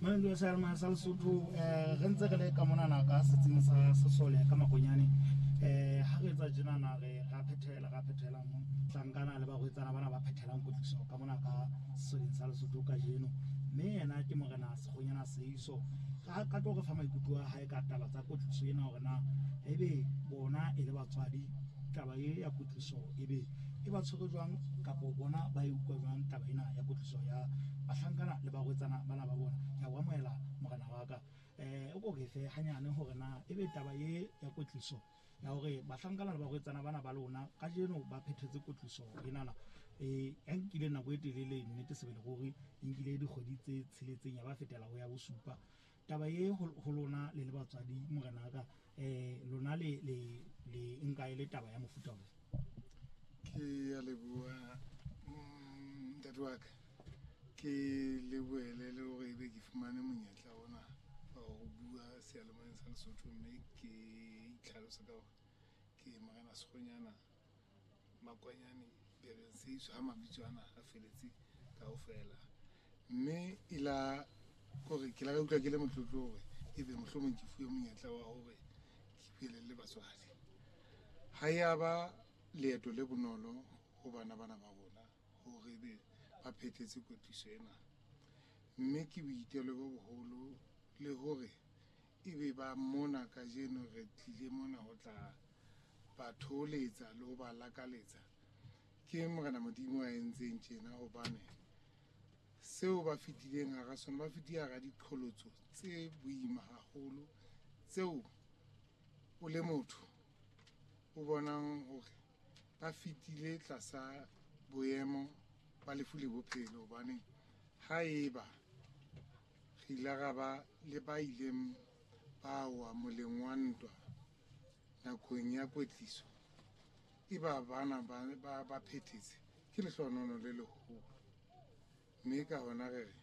Mamelodi ya seyalemoya sa Lesotho um re ntse re le ka monana ka setsing sa sesole ka Makonyane. Um ha re etsa tjenana re ra phethela ra phethela mo tlankana le barwetsana bana ba phethelang kwetliso ka mona ka sesoleng sa Lesotho kajeno. Mme yena ke Morena Sekgonyana Seiso. Ka ka tlo re fa maikutlo a hae ka taba tsa kwetliso ena hore na ebe bona e le batswadi taba e ya kwetliso ebe e ba tshwere jwang kapo bona ba e utlwa jwang taba ena ya kwetliso ya bahlankana le barwetsana bana ba bona. Ke a o amohela morena wa ka. O ko re fe hanyane hore na ebe taba ye ya kwetliso ya hore bahlankana le barwetsana bana ba lona kajeno ba phethetse kwetliso enana ya nkile nako e telele, nnete sebele ruri e nkile dikgwedi tse tsheletseng ya ba fetela ho ya bosupa. Taba ye ho lona le le batswadi morena wa ka, lona le le le nka e le taba ya mofuta ofe? Ke a leboha ntate wa ka. Ke lebohele le hore ebe ke fumane monyetla ona wa ho bua seyalemoyeng sa Lesotho, mme ke itlhalose ka hore ke Morena Sekgonyana Makwanyane Bereng Seiso, ha mabitso ana a feletse kaofela. Mme e la kore ke la ka utlwa ke le motlotlo hore ebe mohlomong ke fuwe monyetla wa hore ke buele le batswadi. Ha ya ba leeto le bonolo ho bana bana ba rona hore ebe ba phethetse kwetliso ena, mme ke boitelo bo boholo le hore ebe ba mona kajeno re tlile mona ho tla ba thoholetsa le ho ba lakaletsa. Ke Morena Modimo a entseng tjena, hobane seo ba fetileng hara sona, ba fetile hara diqholotso tse boima haholo tseo o le motho o bonang hore ba fetile tlasa boemo ba lefu le bophelo. Hobane ha eba re ile ra ba le ba ileng ba wa moleng wa ntwa nakong ya kwetliso, e ba bana ba phethetse, ke lehlohonolo le leholo. Mme ka hona re re